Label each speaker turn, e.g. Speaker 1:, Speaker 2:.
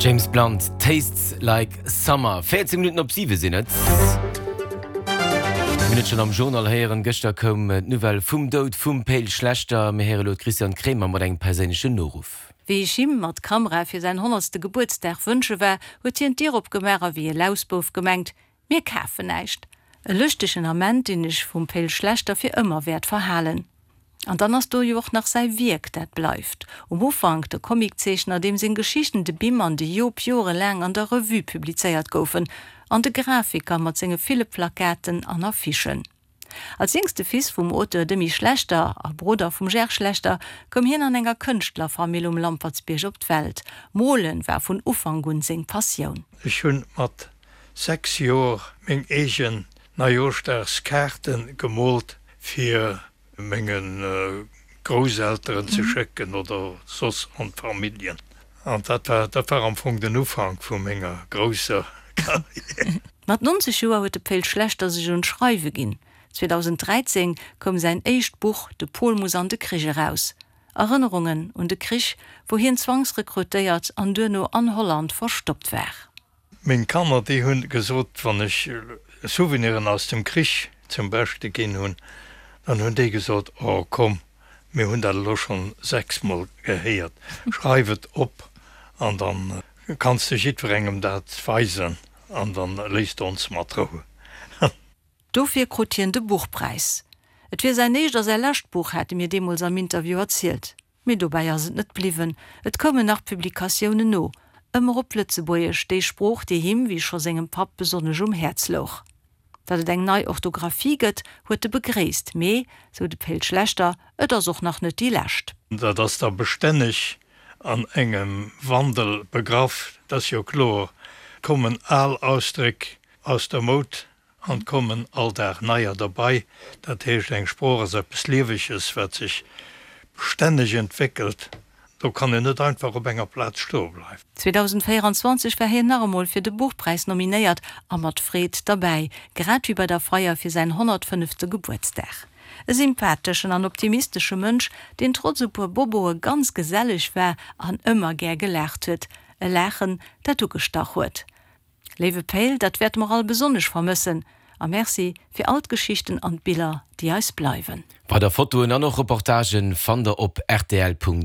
Speaker 1: James Blunt, Tastes Like Summer. 14 Minutten op 7 sinn et. Mir hunn et schonn am Journal héieren, gëschter koum d'Nouvelle vum Doud vum Pe'l Schlechter. Mir héiere lo d'Christiane Kremer mat engem perséinlechen Noruff.
Speaker 2: Wéi ech him mat Kamera fir säin honnertste Gebuertsdag wënsche war, huet hien d'Dier opgemaach a wéi e Lausbouf gemengt, Mir kafen näischt. E lëschtegen Ament, deen ech vum Pe'l Schlechter fir ëmmer wäert verhalen. An dann ass do jo och nach säi Wierk, dat bleift. Um Ufank de Comiczeechner, deem seng Geschichten De Bim an de Jop jorelaang an der Revue publizéiert goufen, an de Grafiker mat senge ville Plakaten an Affichen. Als jéngste Fils vum Auteur Demy Schlechter a Brudder vum Ger Schlechter koum hien an enger Kënschtlerfamill um Lampertsbierg op d'Welt. Mole war vun Ufank un seng Passioun.
Speaker 3: Ech hunn mat 6 Joer meng eegen Neijooschdagskaarten gemoolt fir menge Grousselteren ze schécken oder soss an d'Familljen. An dat war dat war am Fong den Ufank vu menger grousser Carrière.
Speaker 2: Mat 90 Joer huet de Pe'l Schlechter sech un d'Schreiwe ginn. 2013 koum säin éischt Buch De Pol muss an de Krich eraus. Erënnerungen un de Krich, wou hien zwangsrekrutéiert an duerno an Holland verstoppt war.
Speaker 3: Meng Kanner, déi hunn gesot, wann ech Souveniren aus dem Krich zum Beschte ginn hunn, dann hunn déi gesot, Oh komm, mir hunn dat elo schonn sechsmol gehéiert, schreif et op an dann kanns de jiddwerengem dat weisen an dann léiss de ons mat Rou.
Speaker 2: Dofir krut hien de Buchpräis. Et wier säin éischt a säi lescht Buch, hat e mir deemools am Interview erzielt. Mee dobäi ass et net bliwwen, et koumen nach Publikatiounen no, ëmmer op Lëtzebuergesch, déi Sprooch, déi him, wéi scho sengem Papp, besonnesch um Häerz louch. Datt et eng nei Orthographie gëtt, huet e begréisst, mee, sou de Pe'l Schlechter, et ass och nach net déi lescht.
Speaker 3: Dat ass da bestänneg an engem Wandel begraff, dat ass jo kloer, kommen al Ausdréck aus der Moud An 't kommen all Dag neier derbei. Dat heescht, eng Sprooch ass eppes Lieweges, wat sech bestänneg entwéckelt. Do kann een net einfach op enger Plaz stoe bleiwen.
Speaker 2: 2024 war hien nach emol fir de Buchpräis nominéiert a mat Freed derbäi, grad wéi bei der Feier fir säin 105. Gebuertsdag. E sympatheschen an optimistesche Mënsch, deen trotz e puer Boboe ganz geselleg war an ëmmer gär gelaacht huet. E Laachen, dat ugestach huet. Léiwe Pe'l, dat wäerte mer all besonnesch vermëssen a Merci fir all d'Geschichten an d'Biller, déi eis bleiwen.
Speaker 1: Weider Fotoen an och Reportagen fannt der op rtl.